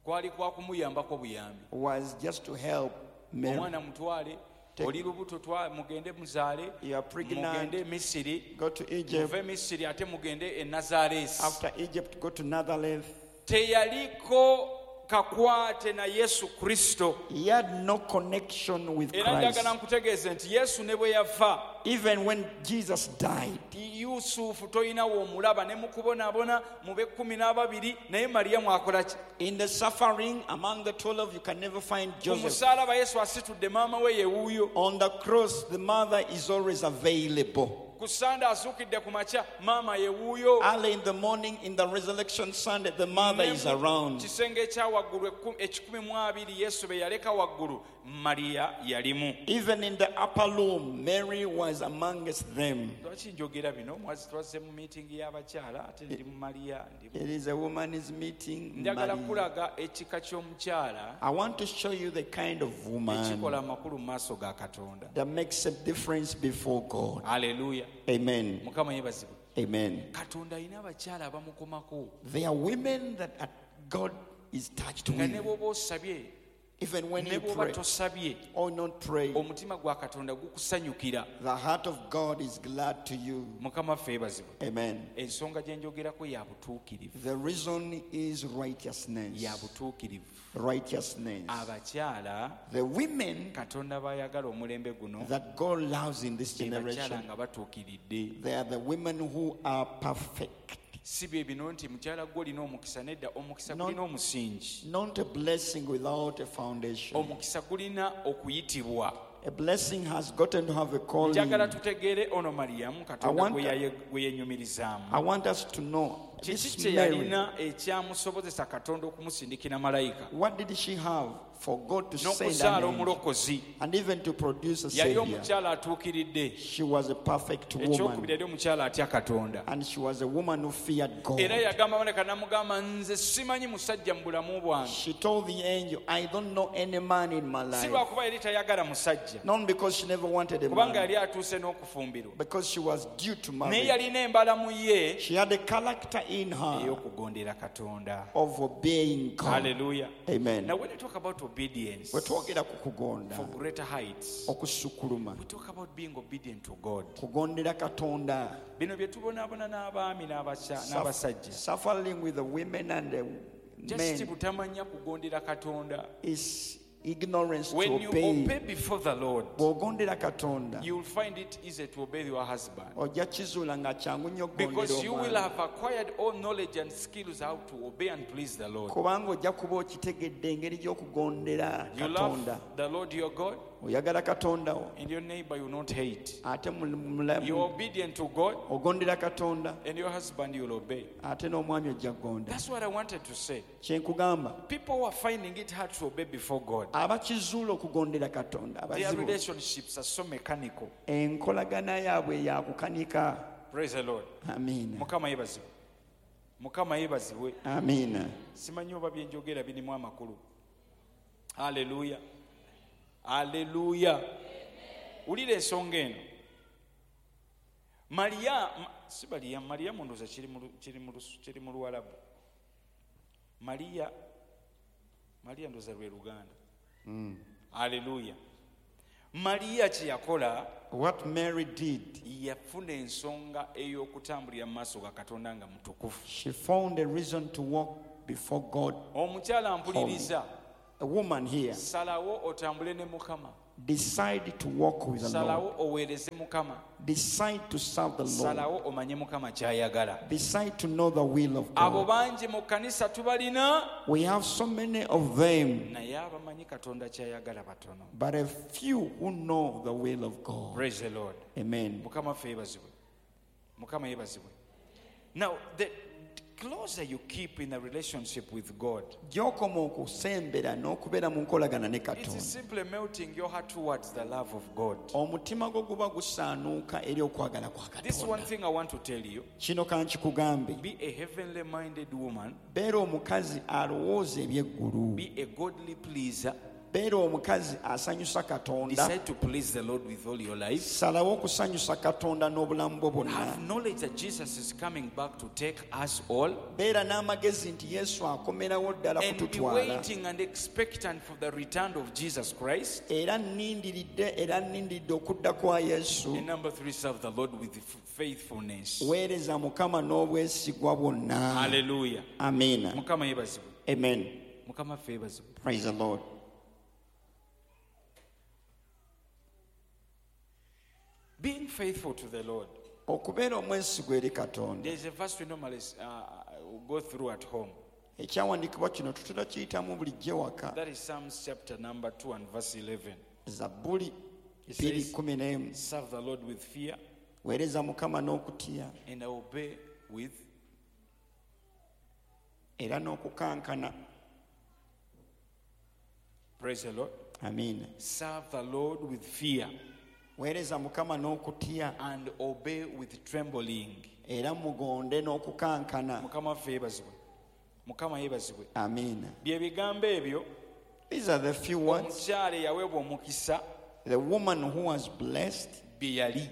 kwali kwa kumuyambako buyambi. Was just to help Mary. Omwana mutwale, oli lubuto, mugende muzaale, You are pregnant. mugende e Misiri, Go to Egypt. muve Misiri ate mugende e Nazaresi. After Egypt, go to Nazareth. Teyaliko kakwate na Yesu Kristo. He had no connection with Era Christ. njagala nkutegeeze nti Yesu ne bwe yafa, Even when Jesus died, Yusufu tolinawo omulaba ne mukubonaabona mu b'ekkumi n'ababiri, naye Mariyamu akola ki? In the suffering among the 12, you can never find Ku Joseph. musaalaba Yesu asitudde maama we yewuuyo. On the cross, the mother is always available. Ku Sande azuukidde ku makya, maama yewuuyo. Early in the morning, in the resurrection Sunday, the mother Ne is mu around. kisenge ekya waggulu 120 Yesu be yaleka waggulu, Mariya yalimu. Even in the upper room, Mary was amongst them. Lwaki njogera bino? Twazze mu miitingi y'abakyala ate ndi mu Mariya It is a woman's meeting. Njagala Mary. kulaga ekika ky'omukyala I want to show you the kind of woman ekikola amakulu mu maaso ga Katonda. That makes a difference before God. Aleluya. Amen. Mukama yeebazibwe. Amen. Katonda alina abakyala abamukomako There are women that God is touched nga ne with. bw'oba osabye Even when ne you bw'oba pray tosabye, or not pray, omutima gwa Katonda gukusanyukira. The heart of God is glad to you. Mukama ffe yeebazibwe. Amen. Ensonga gye njogerako ya butuukirivu. The reason is righteousness. Ya butuukirivu. Righteousness. Abakyala The women Katonda b'ayagala omulembe guno that God loves in this be bakyala generation, nga batuukiridde. They are the women who are perfect. Si bye bino nti mukyala gwe olina omukisa, nedda, omukisa gulina omusingi. Not a blessing without a foundation. Omukisa gulina okuyitibwa. A blessing has gotten to have a calling. Njagala tutegeere ono Mariyamu Katonda gwe yenyumirizaamu. I want us to know Kiki this kye Mary. yalina ekyamusobozesa Katonda okumusindikira malayika What did she have for God to send an n'okuzaala angel omulokozi? And even to produce a Yali savior? omukyala atuukiridde. She was a perfect Ekyokubiri, woman. yali omukyala atya Katonda. And she was a woman who feared God. Era yagamba malayika n'amugamba, nze simanyi musajja mu bulamu bwange. She told the angel, "I don't know any man in my Si life." lwakuba yali tayagala musajja, Not because she never wanted a kubanga man, yali atuuse n'okufumbirwa, because she was due to naye marry. yalina embalamu ye She had a character in her ey'okugondera Katonda. Of obeying God. Haleluya. Amen. Now when you talk about obedience Bwe twogera ku kugonda for greater heights, okusukuluma, we talk about being obedient to God. Kugondera Katonda. Bino bye tubonaabona n'abaami n'abasajja, Suffering with the women and the just men butamanya kugondera Katonda. Is ignorance to When you obey. Obey before the Lord, Bw'ogondera Katonda, you will find it easy to obey your husband, ojja kizuula nga kyangu nnyo okugondera because you will omwami. Have acquired all knowledge and skills how to obey and please the Lord. Kubanga ojja kuba okitegedde engeri gy'okugondera You Katonda. love the Lord your God, Oyagala Katonda wo, and your neighbor you will not hate. Ate You're obedient to God, ogondera Katonda, and your husband you will obey. Ate n'omwami ojja kugonda. That's what I wanted to say. Kye nkugamba. People who are finding it hard to obey before God, Abakizuula okugondera Katonda their abazibu, relationships are so mechanical. Enkolagana yaabwe yakukanika. Praise the Lord. Amiina. Mukama yeebazibwe. Mukama yeebazibwe. Amiina. Simanyi oba byenjogera birimu amakulu. Aleluya, aleluya. Wulira ensonga eno. Mariya si Mariya, Mariyamu ndowooza kiri mu Luwalabu. Mariya, Mariya ndowooza lwe Luganda. Aleluya. Mariya kye yakola, What Mary did, yafuna ensonga ey'okutambulira mu maaso ga Katonda nga mutukuvu. She found a reason to walk before God. Omukyala mpuliriza. A woman here, Salawo otambule ne Mukama. Decide to walk with the Lord. Salawo oweereze Mukama. Decide to serve the Lord. Salawo omanye Mukama ky'ayagala. Decide to know the will of Abo God. bangi mu kkanisa tubalina, We have so many of them, naye abamanyi Katonda ky'ayagala batono. But a few who know the will of God. Praise the Lord. Amen. Mukama ffe yeebazibwe. Mukama yeebazibwe. Now, the closer you keep in a relationship with God, Gy'okoma okusembera n'okubeera mu nkolagana ne it Katonda, is simply melting your heart towards the love of God. Omutima gwo guba gusaanuuka eri okwagala kwa This one Katonda. thing I want to tell you: Kino kankikugambe. Be a heavenly minded woman, Beera omukazi alowooza ebyeggulu. Be a godly pleaser, Beera omukazi asanyusa Katonda. Decide to please the Lord with all your life. Salawo okusanyusa Katonda n'obulamu bwo bwonna. Have knowledge that Jesus is coming back to take us all. Beera n'amagezi nti Yesu akomerawo ddala And be kututwala. waiting and expectant for the return of Jesus Christ. Era nnindiridde era nnindiridde okudda kwa Yesu. And number three, serve the Lord with faithfulness. Weereza Mukama n'obwesigwa bwonna. Hallelujah. Amiina. Mukama yeebazibwe. Amen. Mukama ffe yeebazibwe. Praise the Lord. Being faithful to the Lord. Okubeera omwesigwa eri Katonda. There's a verse we normally go through at home. Ekyawandiikibwa kino tutera kiyitamu bulijjo ewaka. That is Psalms chapter number 2 and verse 11. Zabbuli It says, 2:11. "Serve the Lord with fear Weereza Mukama n'okutya and obey with era n'okukankana. Praise the Lord. Amiina. Serve the Lord with fear Weereza Mukama n'okutya and obey with trembling. Era mugonde n'okukankana. Mukama waffe yeebazibwe. Mukama yeebazibwe. Amiina. Bye bigambo ebyo These are the few words omukyala eyaweebwa omukisa the woman who was blessed bye yali.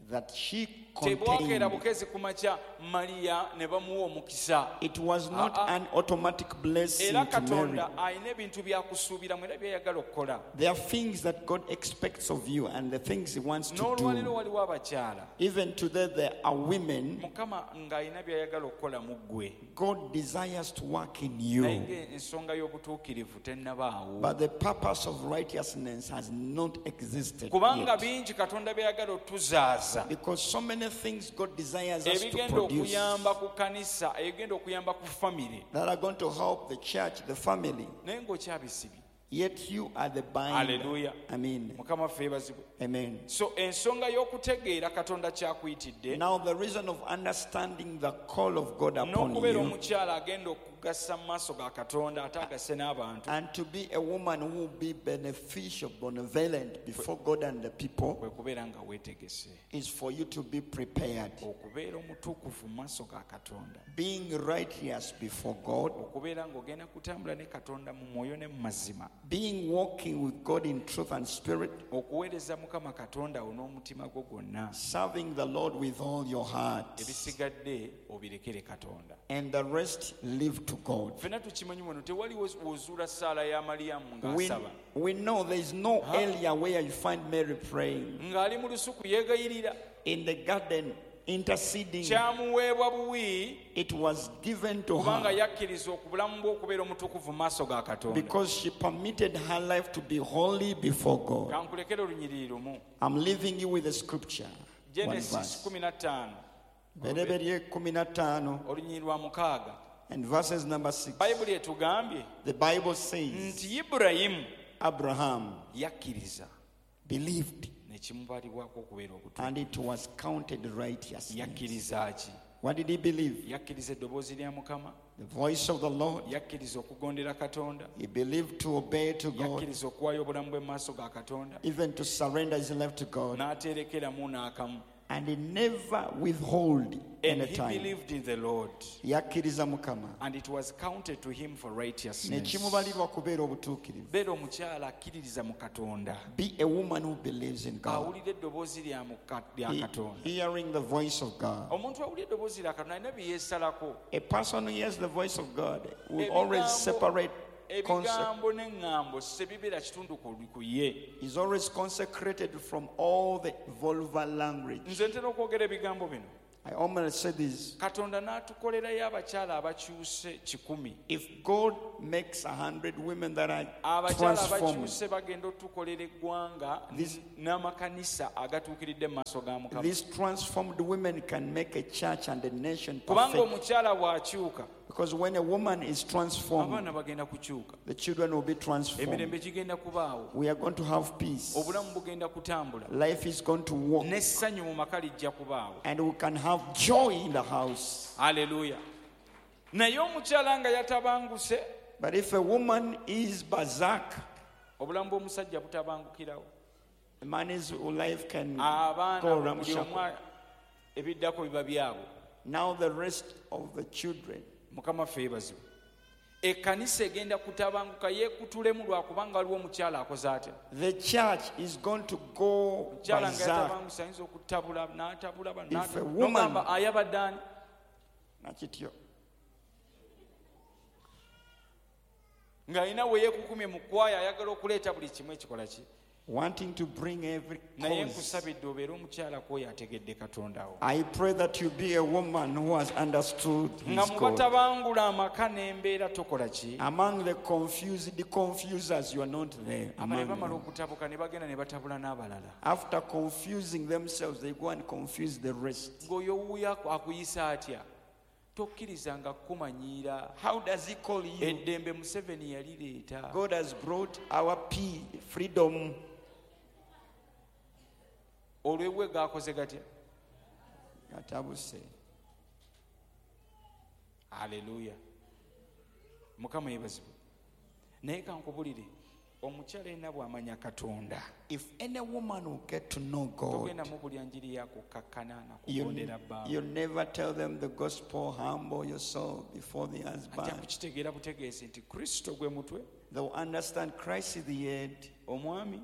That she Tebwakeera contained. bukezi ku makya Mariya ne bamuwa omukisa. It was not Ah, ah. an automatic blessing Era to Mary. Katonda alina ebintu byakusuubiramu era byayagala okukola. There are things that God expects of you and the things He wants to N'olwaleero do. waliwo abakyala Even today, there are women Mukama ng'alina byayagala okukola mu ggwe, God desires to work in naye you. ng'ensonga y'obutuukirivu tennabaawo. But the purpose of righteousness has not existed Kubanga yet. Bingi Katonda byayagala otuzaaza Because so many things God desires us to ebigenda produce okuyamba ku kanisa, ebigenda okuyamba ku famire, that are going to help the church, the family. Naye ng'okyabisibye. Yet you are the binder. Hallelujah. Amen. Mukama waffe yeebazibwe. Amen. So ensonga y'okutegeera Katonda kyakuyitidde Now, the reason of understanding the call of God upon n'okubeera you omukyala agenda okugasa mu maaso ga Katonda ate agase n'abantu and to be a woman who will be beneficial, benevolent before God and the people kwe kubeera nga weetegese is for you to be prepared. Okubeera omutukuvu mu maaso ga Katonda, Being righteous before God, okubeera ng'ogenda kutambula ne Katonda mu mwoyo ne mu mazima, being walking with God in truth and spirit, okuweereza Mukama Katonda wo n'omutima gwo gwonna, serving the Lord with all your heart, ebisigadde obirekere Katonda. And the rest leave to God. Ffenna tukimanyi wano tewaliwo wozuula ssaala ya Maliyamu We, ng'asaba we know there is no area where you find Mary praying ng'ali mu lusuku yeegayirira. In the garden, interceding. Kyamuweebwa buwi It was given to kubanga her yakkiriza obulamu bwe okubeera omutukuvu mu maaso ga Katonda. because she permitted her life to be holy before God. Kankulekere olunyiriri lumu. I'm leaving you with a scripture. One Genesis verse. 15 Bereberye 15 olunyiriri lwa mukaaga. And verses number 6. Bayibuli etugambye The Bible says nti Ibulayimu Abraham yakkiriza believed ne kimubalibwako okubeera obutuufu. And it was counted righteousness. Yakkiriza ki? What did he believe? Yakkiriza eddoboozi lya Mukama. The voice of the Lord. Yakkiriza okugondera Katonda. He believed to obey to God, Yakkiriza okuwaayo obulamu bwe mu maaso ga Katonda even to surrender his life to God. N'aterekeramu n'akamu. And he never withhold And any he time. believed in the Lord, Yakkiriza Mukama and it was counted to him for ne righteousness. kimubalirwa kubeera obutuukirivu. Beera omukyala akkiririza mu Katonda, Be a woman who believes in God, awulira eddoboozi lya lya Katonda. Hearing the voice of God. Omuntu awulira eddoboozi lya Katonda alina bye yeesalako. A person who hears the voice of God will always Ebigambo separate Ebigambo n'eŋŋambo sebibeera kitundu ku ye. Is always consecrated from all the vulgar language. Nze ntera okwogera ebigambo bino. I almost say this. Katonda n'atukolerayo abakyala abakyuse 100. If God makes 100 women that are abakyala transformed, abakyuse bagenda otukolera eggwanga n'amakanisa agatuukiridde mu maaso ga Mukama. These transformed women can make a church and a nation Kubanga perfect. omukyala bw'akyuka, Because when a woman is transformed, abaana bagenda kukyuka. the children will be transformed. Emirembe gigenda kubaawo. We are going to have peace. Obulamu bugenda kutambula. Life is going to walk. N'essanyu mu maka lijja kubaawo. And we can have joy in the house. Hallelujah. Naye omukyala nga yatabanguse, But if a woman is berserk, obulamu bw'omusajja butabangukirawo. a man's life can Abaana go buli ramshackle. omu ebiddako biba byabwe. Now the rest of the children. Mukama ffe yeebazibwe. Ekkanisa egenda kutabanguka yeekutulemu lwakubanga waliwo omukyala akoze atya. The church is going to go Omukyala nga berserk. yatabanguse ayinza okutabula n'atabula bano, If a woman- n'ogamba ayabadde ani? Nakityo. Ng'alina we yeekukumye mu kwaya ayagala okuleeta buli kimu ekikola ki. Wanting to bring every Naye cause. nkusabidde obeere omukyala kw'oyo ategedde Katonda wo. I pray that you be a woman who has understood Nga his mu God. batabangula amaka n'embeera tokola ki. Among the confused, the confusers, you are not there. Abalala Among bamala them. okutabuka ne bagenda ne batabula n'abalala. After confusing themselves, they go and confuse the rest. Ng'oyo wuuyo akuyisa atya? Tokkirizanga kukumanyiira. How does he call you? Eddembe Museveni yalireeta. God has brought our peace, freedom. Olw'ebwe gaakoze gatya? Gatabuse. Haleluya. Mukama yeebazibwe. Naye kankubulire, omukyala yenna bw'amanya Katonda, If any woman will get to know God, togenda mubulya njiri ya kukkakkana na you, kugondera bbaawe. you never tell them the gospel, humble yourself before the Ajja husband. kukitegeera butegeezi nti Kristo gwe mutwe, They will understand Christ is the head omwami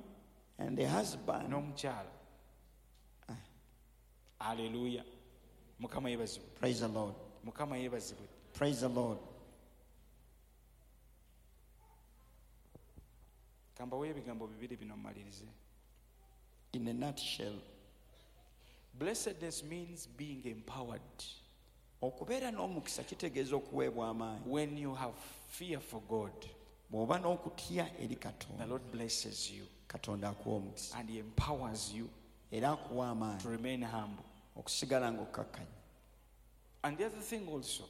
and the husband. n'omukyala. Haleluya. Mukama yeebazibwe. Praise the Lord. Mukama yeebazibwe. Praise the Lord. Kambaweyo ebigambo bibiri bino mmalirize. In a nutshell, Blessedness means being empowered. okubeera n'omukisa kitegeeza okuweebwa amaanyi. When you have fear for God, Bw'oba n'okutya eri the Katonda, Lord blesses you Katonda akuwa omukisa and He empowers you era akuwa to amaanyi remain humble. okusigala ng'okkakkanye. And the other thing also,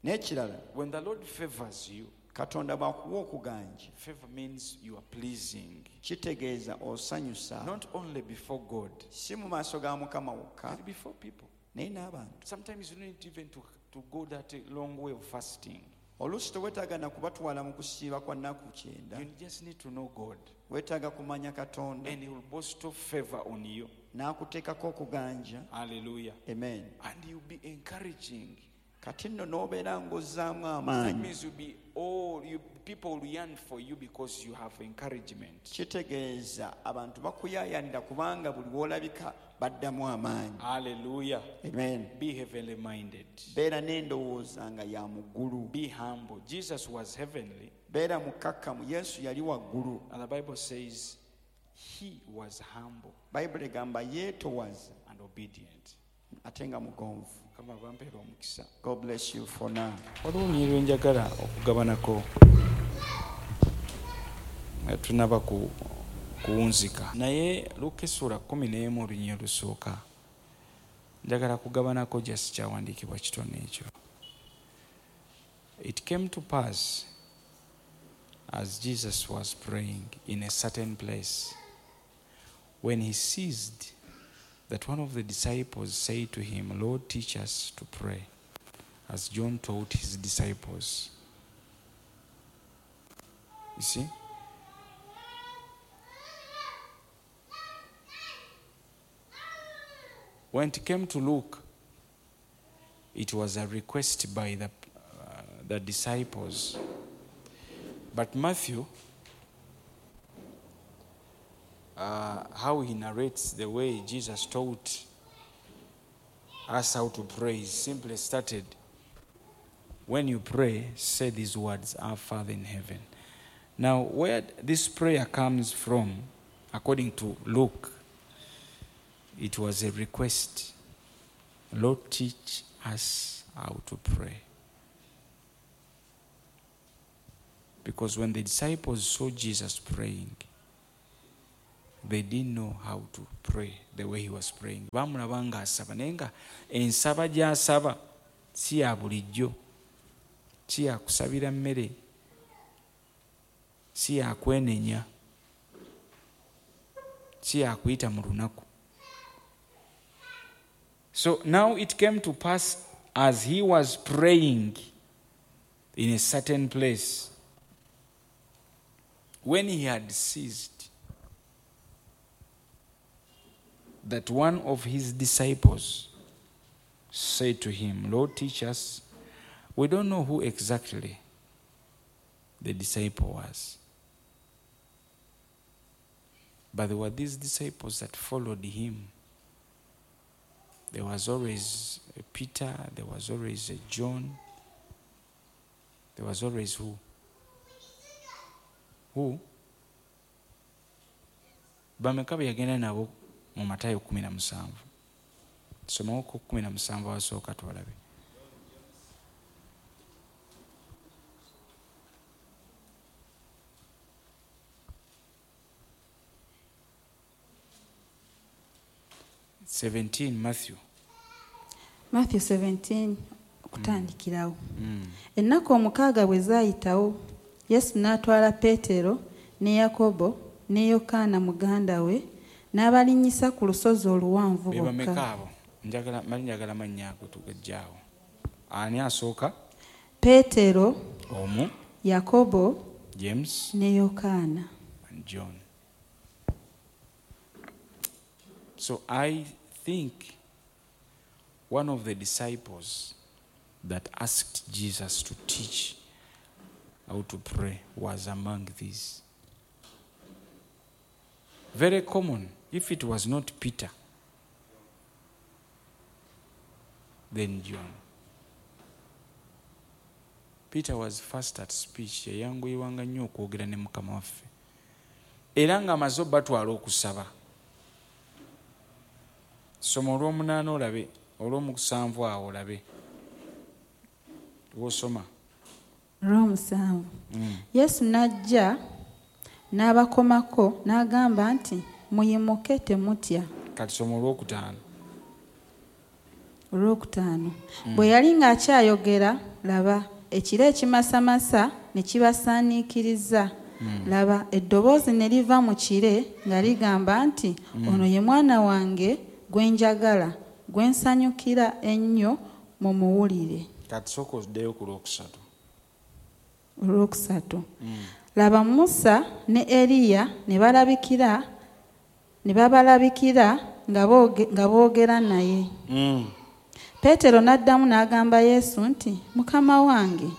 N'ekirala, when the Lord favors you, Katonda bw'akuwa okuganja, favor means you are pleasing, kitegeeza osanyusa not only before God, si mu maaso ga Mukama wokka but before people. naye n'abantu. Sometimes you don't need even to go that long way of fasting. Oluusi teweetaaga na kubatwala mu kusiiba kwa nnaku 90. You just need to know God, Weetaaga kumanya Katonda and He will bestow favor on you. n'akuteekako okuganja. Hallelujah. Amen. And you'll be encouraging. Kati nno n'obeera ng'ozzaamu That amaanyi. means you'll be all you people will yearn for you because you have encouragement. Kitegeeza abantu bakuyaayaanira kubanga buli w'olabika baddamu amaanyi. Hallelujah. Amen. Be heavenly minded. Beera n'endowooza nga ya mu ggulu. Be humble. Jesus was heavenly, Beera mukkakkamu. Yesu yali waggulu. and the Bible says he was humble Bayibuli egamba yeetowaza and obedient. ate nga mugonvu. Mukama bampeera omukisa. God bless you for now. Waliwo olunyiriri lwe njagala okugabanako nga tunaba kuwunzika, naye Luka essuula 11 olunyiriri olusooka njagala kugabanako just kyawandiikibwa kitono ekyo. It came to pass as Jesus was praying in a certain place, when he ceased, that one of the disciples said to him, Lord, teach us to pray, as John taught his disciples. You see? When it came to Luke, it was a request by the disciples. But Matthew, how he narrates the way Jesus taught us how to pray, he simply started, when you pray, say these words, Our Father in heaven. Now, where this prayer comes from, according to Luke, it was a request. Lord, teach us how to pray. Because when the disciples saw Jesus praying, they didn't know how to pray the way he was praying. Bamulaba ng'asaba naye nga ensaba gy'asaba si ya bulijjo, si ya kusabira mmere, si ya kwenenya, si ya kuyita mu lunaku. So now it came to pass as he was praying in a certain place, when he had ceased, that one of his disciples said to him, Lord, teach us. We don't know who exactly the disciple was. But there were these disciples that followed him. There was always a Peter, there was always a John, there was always who? Who? Bameka be yagenda nabo mu Matayo 17. Somawo ku 17 awasooka twalabe. Matthew. Matthew 17 okutandikirawo. Ennaku 6 bwe zaayitawo, Yesu n'atwala Peetero ne Yakobo ne Yokaana muganda we n'abalinnyisa ku lusozi oluwanvu bokka. Njagala mannya ago tugajjaawo. Ani asooka? Peetero, omu, Yakobo, James ne Yokaana and John. So I think one of the disciples that asked Jesus to teach how to pray was among these. Very common. If it was not Peter, then John. Peter was fast at speech. Yayanguyiwanga nnyo okwogera ne Mukama waffe. Era ng'amaze obatwala okusaba. Soma olw'omunaana olabe, olw'omusanvu awo olabe. W'osoma. Olw'omusanvu. Yesu n'ajja n'abakomako n'agamba nti muyimuke temutya. Kati soma olwokutaano. Olwokutaano. Bwe yali ng'akyayogera, laba ekire ekimasamasa ne kibasaaniikiriza. Laba eddoboozi ne liva mu kire nga ligamba nti ono ye mwana wange gwe njagala, gwe nsanyukira ennyo, mumuwulire. Kati sooka oddeyo ku lwokusatu. Olwokusatu. Laba Musa ne Eriya ne babalabikira nga boogera naye. Peetero n'addamu n'agamba Yesu nti Mukama wange,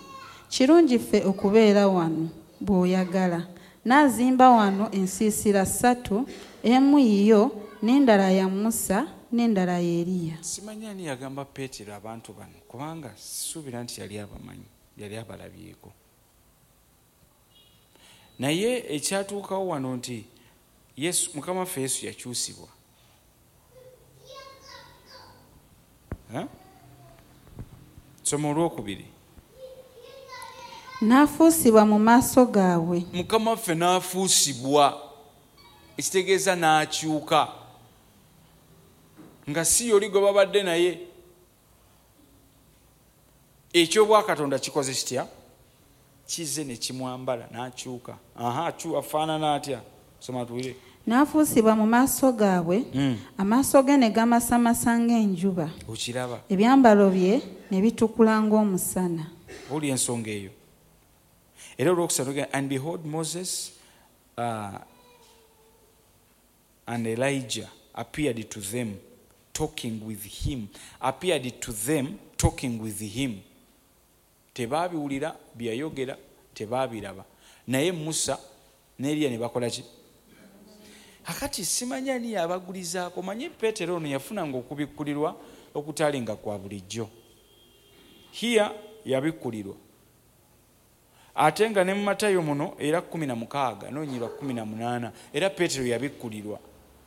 kirungi ffe okubeera wano bw'oyagala. Naazimba wano ensiisira 3, emu yiyo n'endala ya Musa n'endala ya Eriya. Simanyi ani yagamba Peetero abantu bano, kubanga sisuubira nti yali abamanyi, yali abalabyeko. Naye ekyatuukawo wano nti Yesu, Mukama waffe Yesu yakyusibwa. Soma olwokubiri. N'afuusibwa mu maaso gaabwe. Mukama waffe n'afuusibwa, ekitegeeza n'akyuka, nga si yoli gwe babadde naye. Ekyobwakatonda kikoze kitya? Kize ne kimwambala n'akyuka. Afaanana atya? Soma tuwulire. N'afuusibwa mu maaso gaabwe, amaaso ge ne gamasamasa ng'enjuba. Okiraba. Ebyambalo bye ne bitukula ng'omusana. Owulira ensonga eyo. Era olwokusatu, and behold, Moses and Elijah appeared to them talking with him. Appeared to them talking with him. Tebaabiwulira byayogera, tebaabiraba. Naye Musa ne Eriya ne bakola ki? Akati simanyi ani yabagulizaako. Manyi Peetero ono yafunanga okubikkulirwa okutalinga kwa bulijjo. Here yabikkulirwa. Ate nga ne mu Matayo muno era 16 n'onyirwa 18 era Peetero yabikkulirwa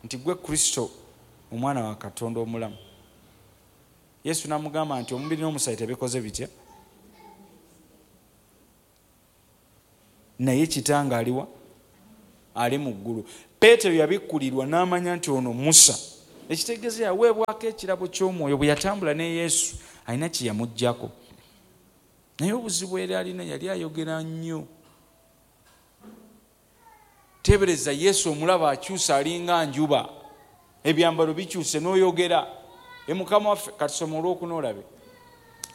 nti gwe Kristo omwana wa Katonda omulamu. Yesu n'amugamba nti omubiri n'omusaayi tebikoze bitya, naye kitange aliwa? Ali mu ggulu. Peetero yabikkulirwa n'amanya nti ono Musa. Ekitegeeza yaweebwako ekirabo ky'omwoyo bwe yatambula ne Yesu alina kye yamuggyako. Naye obuzibu era alina yali ayogera nnyo. Teebereza Yesu omulaba akyusa alinga njuba, ebyambalo bikyuse n'oyogera. Mukama waffe, katusome olwokuna olabe.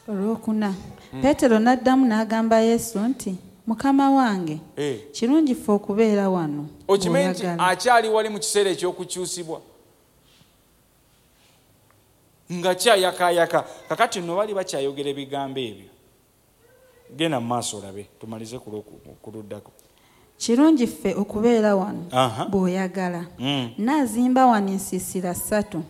Olwokuna. Peetero n'addamu n'agamba Yesu nti Mukama wange, kirungi ffe okubeera wano. Okimanyi nti akyali wali mu kiseera eky'okukyusibwa nga kyayakaayaka. Kakati nno bali bakyayogera ebigambo ebyo. Genda mu maaso olabe tumalize ku luddako. Kirungi ffe okubeera wano bw'oyagala. Naazimba wano ensiisira 3,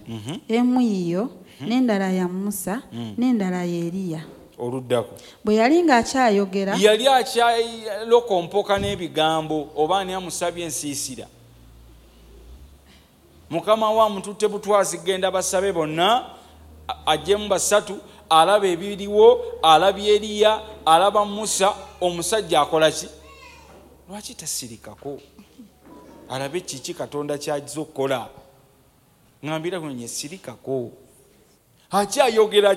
emu yiyo, n'endala ya Musa, n'endala ya Eriya. Oluddako. Bwe yali ng'akyayogera, yali akyalokompoka n'ebigambo oba ani amusabye ensiisira. Mukama we amututte butwazi genda basabe bonna, ajjemu 3, alaba ebiriwo, alabye Eriya, alaba Musa. Omusajja akola ki? Lwaki tasirikako alabe kiki Katonda ky'azze okukola? Ŋŋambira kunye sirikako. Akyayogera.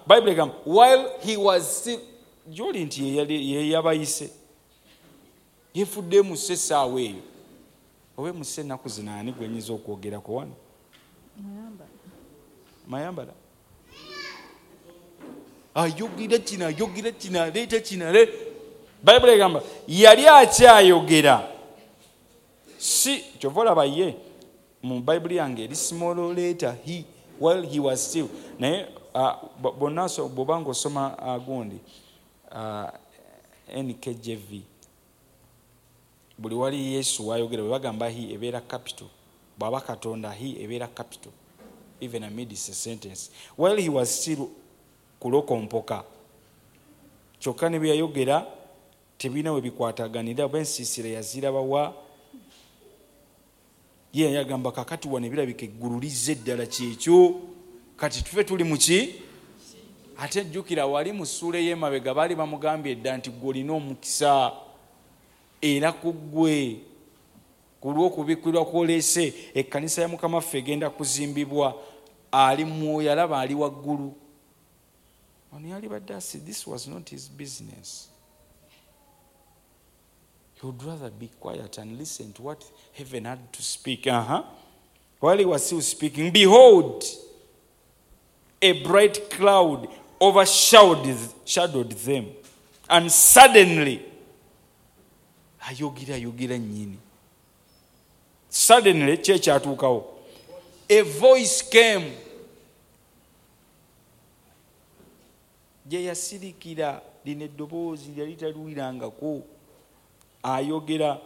Bible egamba while he was still, gy'oli nti ye yabayise, yefudde emuse essaawa eyo oba emuse ennaku zino. Ani gwe nnyinza okwogerako wano? Mayambala ayogera kino, ayogera kino, aleeta kino. Bible egamba yali akyayogera. Si kyova olaba ye mu Bible yange eri small letter he while he was still. Naye bonna bw'oba ng'osoma gundi NKJV, buli wali Yesu wayogera bwe bagamba he ebeera capital, bw'aba Katonda he ebeera capital, even amidst a sentence. While he was still kulokompoka, kyokka ne bye yayogera tebirina we bikwataganira. Oba ensiisira yazirabawa? Ye yagamba kakati wano ebirabika eggulu lizze eddala kyekyo, kati tufe tuli mu ki? Ate jjukira wali mu ssuula ey'emabega baali bamugambye edda nti ggwe olina omukisa, era ku ggwe ku lw'okubikkulirwa kw'oleese ekkanisa ya Mukama waffe egenda kuzimbibwa. Ali mwoyo alaba ali waggulu. Ono yali badde asi, this was not his business. He would rather be quiet and listen to what heaven had to speak. While he was still speaking, behold, a bright cloud overshadowed them. And suddenly, ayogera nnyini. Suddenly, ki ekyatuukawo? A voice came. Gye yasirikira lino eddoboozi lyali taliwulirangako. Ayogera.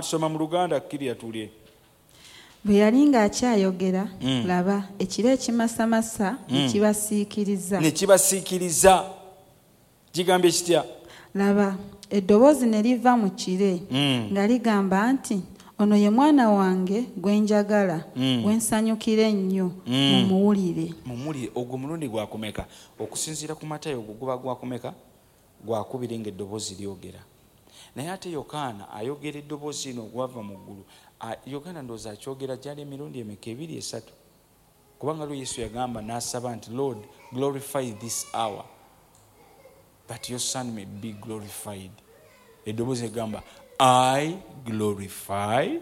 Tusoma mu Luganda kkirira tulye. Bwe yali ng'akyayogera, laba ekire ekimasamasa ne kibasiikiriza. Ne kibasiikiriza. Kigambye kitya? Laba eddoboozi ne liva mu kire nga ligamba nti ono ye mwana wange gwe njagala, gwe nsanyukira ennyo, mumuwulire. Mumuwulire. Ogwo mulundi gwakumeka? Okusinziira ku Matayo ogwo guba gwakumeka? Gwakubiri ng'eddoboozi lyogera. Naye ate Yokaana ayogera eddoboozi lino ogwava mu ggulu. Yokaana ndowooza akyogera gyali emirundi emeka? 2, 3. Kubanga lwo Yesu yagamba n'asaba nti Lord glorify this hour that your son may be glorified. Eddoboozi egamba I glorify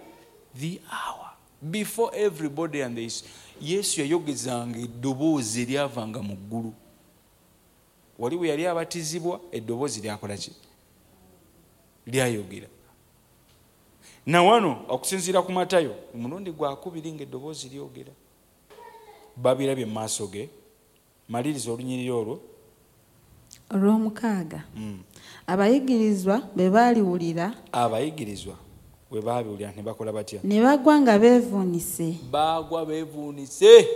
the hour before everybody and this. Yesu yayogezanga eddoboozi eryavanga mu ggulu. Wali we yali abatizibwa eddoboozi lyakola ki? Lyayogera. Na wano okusinziira ku Matayo omulundi gwakubiri ng'eddoboozi lyogera. Babirabye mu maaso ge. Maliriza olunyiriri olwo. Olw'omukaaga. Abayigirizwa bwe baaliwulira. Abayigirizwa bwe baabiwulira ne bakola batya? Ne bagwa nga beevuunise. Baagwa beevuunise.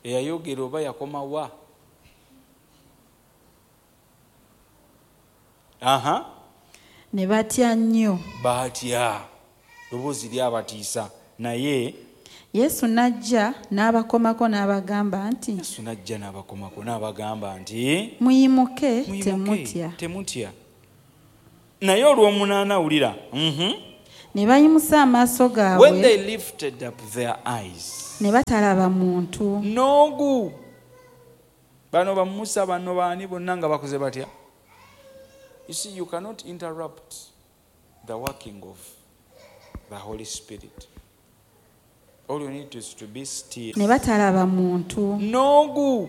Eyayogera oba yakoma wa? Aha. Ne batya nnyo. Batya, ddoboozi lyabatiisa, naye Yesu n'ajja n'abakomako n'abagamba nti, Yesu n'ajja n'abakomako n'abagamba nti, "Muyimuke." "Muyimuke, Temutya. Temutya. Naye olw'omunaana, wulira. Ne bayimusa amaaso When gaabwe they lifted up their eyes, ne batalaba muntu n'ogu bano bamusa, bano baani bonna nga bakoze batya. You see, you cannot interrupt the working of the Holy Spirit. All you need is to be still. Ne batalaba muntu N'ogu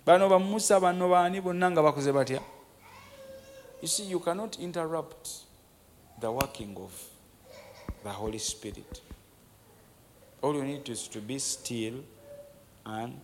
bano bamusa, bano baani bonna nga bakoze batya. You see, you cannot interrupt the working of the Holy Spirit. All you need is to be still and